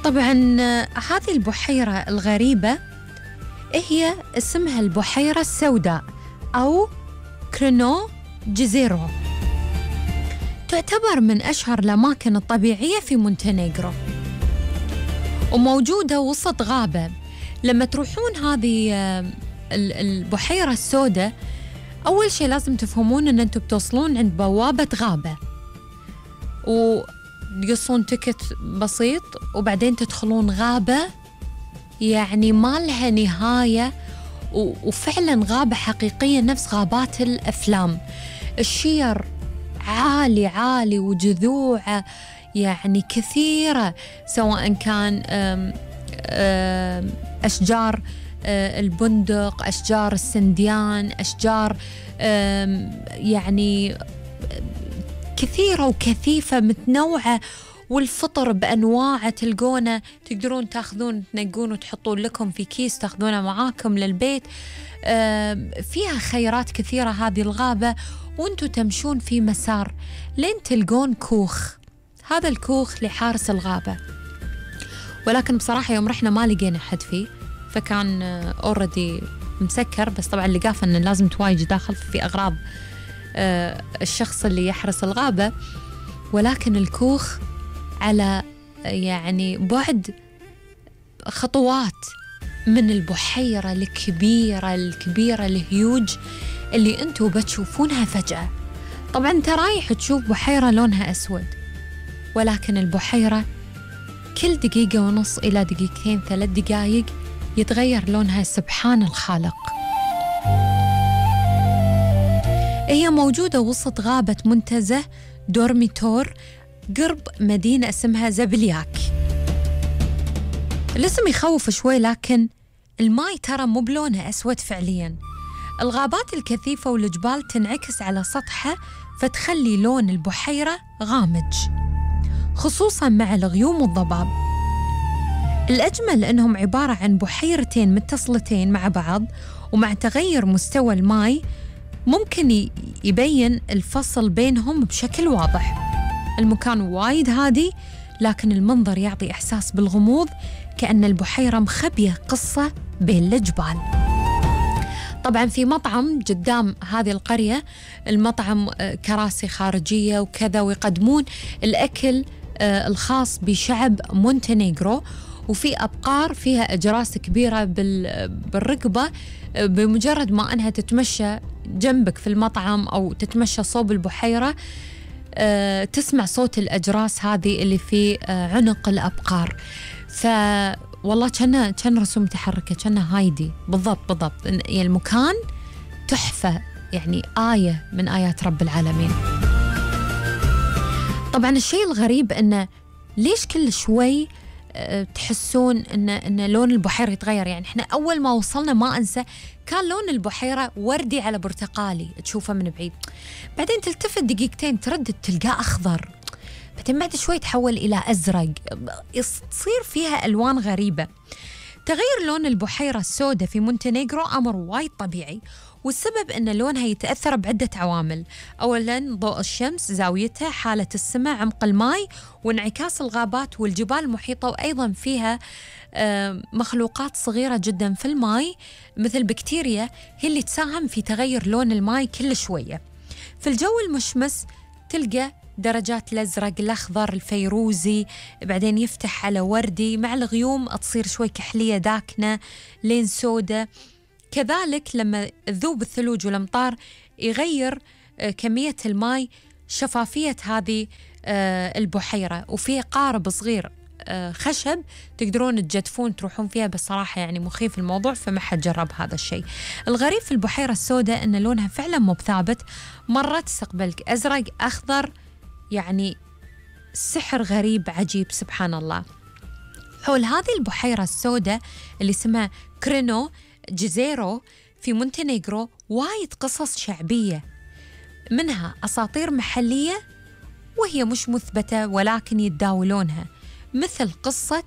طبعاً هذه البحيرة الغريبة هي اسمها البحيرة السوداء أو كرينو جزيرو. تعتبر من أشهر الأماكن الطبيعية في مونتينيغرو، وموجودة وسط غابة. لما تروحون هذه البحيرة السوداء، أول شيء لازم تفهمون أن أنتم بتوصلون عند بوابة غابة وتقصون تكت بسيط، وبعدين تدخلون غابة يعني ما لها نهاية، وفعلا غابة حقيقية نفس غابات الأفلام. الشير عالي عالي وجذوعه يعني كثيرة، سواء كان أشجار البندق، أشجار السنديان، أشجار يعني كثيرة وكثيفة متنوعة، والفطر بأنواعه تلقونه، تقدرون تاخذون تنقون وتحطون لكم في كيس تاخذونه معاكم للبيت. فيها خيرات كثيرة هذه الغابة، وانتوا تمشون في مسار لين تلقون كوخ. هذا الكوخ لحارس الغابة، ولكن بصراحة يوم رحنا ما لقينا حد فيه، فكان أوردي مسكر. بس طبعا لقافة أنه لازم تواجد داخل في أغراض الشخص اللي يحرس الغابة. ولكن الكوخ على يعني بعد خطوات من البحيرة الكبيرة الهيوج اللي انتوا بتشوفونها فجأة. طبعا انت رايح تشوف بحيرة لونها أسود، ولكن البحيرة كل دقيقة ونص إلى دقيقتين 3 دقايق يتغير لونها. سبحان الخالق. هي موجودة وسط غابة منتزه دورميتور قرب مدينة اسمها زبلياك. الاسم يخوف شوي، لكن الماي ترى مو بلونه أسود فعلياً. الغابات الكثيفة والجبال تنعكس على سطحها، فتخلي لون البحيرة غامج، خصوصاً مع الغيوم والضباب. الأجمل أنهم عبارة عن بحيرتين متصلتين مع بعض، ومع تغير مستوى الماي ممكن يبين الفصل بينهم بشكل واضح. المكان وايد هادي، لكن المنظر يعطي إحساس بالغموض، كأن البحيرة مخبية قصة بين الجبال. طبعاً في مطعم قدام هذه القرية، المطعم كراسي خارجية وكذا، ويقدمون الأكل الخاص بشعب مونتينيغرو، وفي أبقار فيها أجراس كبيرة بالرقبة. بمجرد ما أنها تتمشى جنبك في المطعم أو تتمشى صوب البحيرة، تسمع صوت الأجراس هذه اللي في عنق الأبقار. والله كان رسوم متحركة، كان هايدي بالضبط. يعني المكان تحفة، يعني آية من آيات رب العالمين. طبعا الشيء الغريب أنه ليش كل شوي تحسون أن لون البحيرة يتغير. يعني إحنا أول ما وصلنا ما أنسى كان لون البحيرة وردي على برتقالي تشوفه من بعيد، بعدين تلتفت دقيقتين تردد تلقاه أخضر، بعدين بعد شوي تحول إلى أزرق، تصير فيها ألوان غريبة. تغير لون البحيرة السوداء في مونتينيغرو أمر وايد طبيعي، والسبب أن لونها يتأثر بعدة عوامل. أولاً ضوء الشمس، زاويتها، حالة السماء، عمق الماء، وانعكاس الغابات والجبال المحيطة. وأيضاً فيها مخلوقات صغيرة جداً في الماء مثل بكتيريا، هي اللي تساهم في تغير لون الماء كل شوية. في الجو المشمس تلقى درجات الأزرق، الأخضر، الفيروزي، بعدين يفتح على وردي، مع الغيوم تصير شوي كحلية داكنة لين سودة. كذلك لما تذوب الثلوج والأمطار يغير كمية الماء شفافية هذه البحيرة. وفي قارب صغير خشب تقدرون تجدفون تروحون فيها، بس صراحة يعني مخيف الموضوع، فما حد جرب هذا الشيء. الغريب في البحيرة السوداء أن لونها فعلا مو ثابت، مرة تستقبلك أزرق، أخضر، يعني سحر غريب عجيب سبحان الله. حول هذه البحيرة السوداء اللي اسمها كرينو جزيرو في مونتينيغرو وايد قصص شعبية، منها أساطير محلية وهي مش مثبتة ولكن يتداولونها، مثل قصة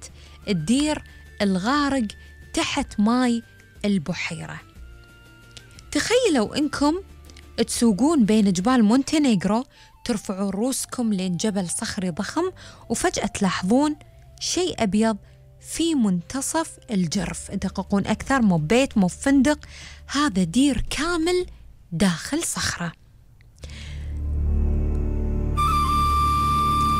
الدير الغارق تحت ماي البحيرة. تخيلوا إنكم تسوقون بين جبال مونتينيغرو، ترفعون رؤوسكم لين جبل صخري ضخم، وفجأة تلاحظون شيء أبيض في منتصف الجرف، دققون أكثر، مو بيت مو فندق، هذا دير كامل داخل صخرة.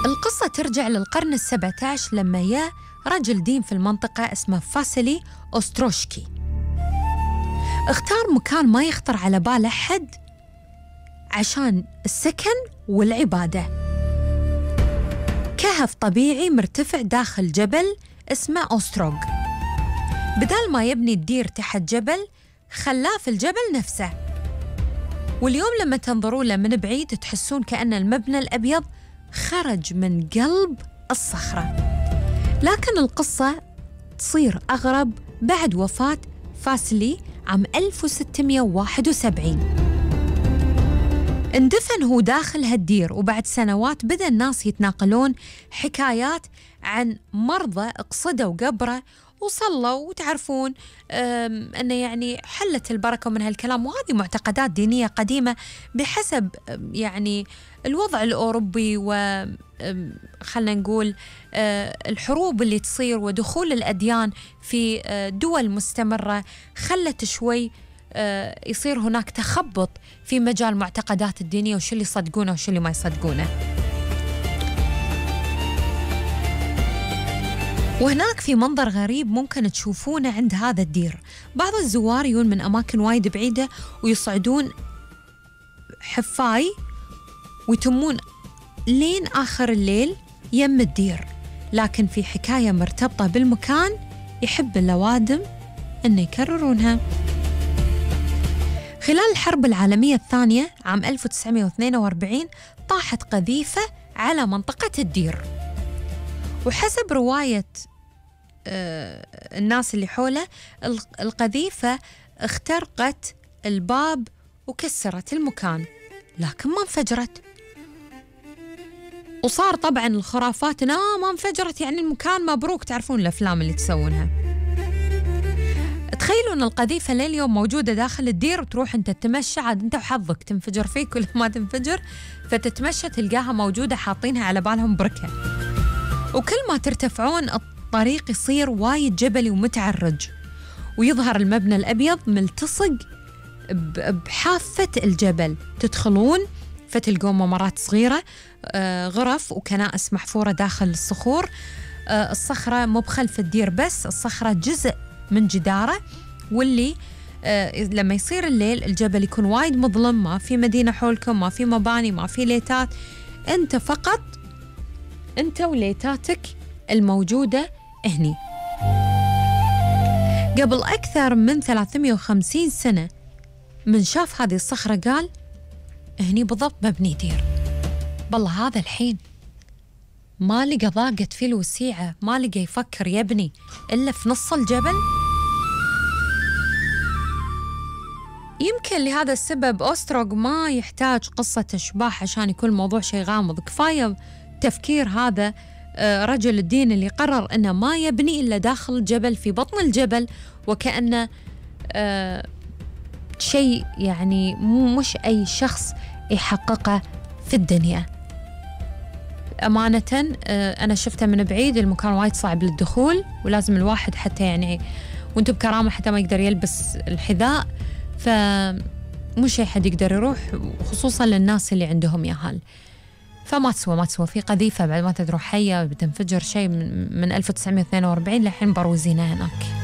القصة ترجع للقرن 17 لما جاء رجل دين في المنطقة اسمه فاسيلي أوستروشكي. اختار مكان ما يخطر على بال أحد عشان السكن والعبادة، كهف طبيعي مرتفع داخل جبل اسمه أوستروغ. بدال ما يبني الدير تحت جبل خلاه في الجبل نفسه، واليوم لما تنظروا له من بعيد تحسون كأن المبنى الأبيض خرج من قلب الصخرة. لكن القصة تصير أغرب بعد وفاة فاسيلي عام 1671. اندفن هو داخل هالدير، وبعد سنوات بدأ الناس يتناقلون حكايات عن مرضى اقصدوا قبره وصلوا، وتعرفون أنه يعني حلت البركة من هالكلام. وهذه معتقدات دينية قديمة بحسب يعني الوضع الأوروبي، وخلنا نقول الحروب اللي تصير ودخول الأديان في دول مستمرة خلت شوي يصير هناك تخبط في مجال معتقدات الدينية، وشو اللي يصدقونه وشو اللي ما يصدقونه. وهناك في منظر غريب ممكن تشوفونه عند هذا الدير. بعض الزوار يجون من أماكن وايد بعيدة ويصعدون حفاي ويتمون لين آخر الليل يم الدير، لكن في حكاية مرتبطة بالمكان يحب الأوادم أن يكررونها. خلال الحرب العالمية الثانية عام 1942 طاحت قذيفة على منطقة الدير، وحسب رواية الناس اللي حوله القذيفة اخترقت الباب وكسرت المكان، لكن ما انفجرت. وصار طبعا الخرافات ما انفجرت يعني المكان مبروك، تعرفون الأفلام اللي تسوونها. تخيلوا أن القذيفة لليوم موجودة داخل الدير، وتروح أنت تتمشى عاد أنت وحظك تنفجر فيك ولا ما تنفجر، فتتمشى تلقاها موجودة حاطينها على بالهم بركة. وكل ما ترتفعون الطريق يصير وايد جبلي ومتعرج، ويظهر المبنى الأبيض ملتصق بحافة الجبل. تدخلون فتلقون ممرات صغيرة، غرف وكنائس محفورة داخل الصخور. الصخرة مو بخلف الدير بس، الصخرة جزء من جداره، واللي لما يصير الليل الجبل يكون وايد مظلم، ما في مدينة حولكم، ما في مباني، ما في ليتات، أنت فقط أنت وليتاتك الموجودة هني. قبل أكثر من 350 سنة من شاف هذه الصخرة قال هني بالضبط مبني دير. بالله هذا الحين ما لقى ضاقة فيه الوسيعة، ما لقى يفكر يبني إلا في نص الجبل. يمكن لهذا السبب أوستروغ ما يحتاج قصة أشباح عشان يكون الموضوع شيء غامض، كفاية تفكير هذا رجل الدين اللي قرر أنه ما يبني إلا داخل الجبل في بطن الجبل، وكأنه شيء يعني مش أي شخص يحققه في الدنيا. أمانة أنا شفته من بعيد، المكان وايد صعب للدخول، ولازم الواحد حتى يعني وانتو بكرامة حتى ما يقدر يلبس الحذاء، فمش أي حد يقدر يروح، خصوصا للناس اللي عندهم ياهال. فما تسوى في قذيفة بعد ما تدروا حية بتنفجر شيء من 1942 لحين بروزينها هناك.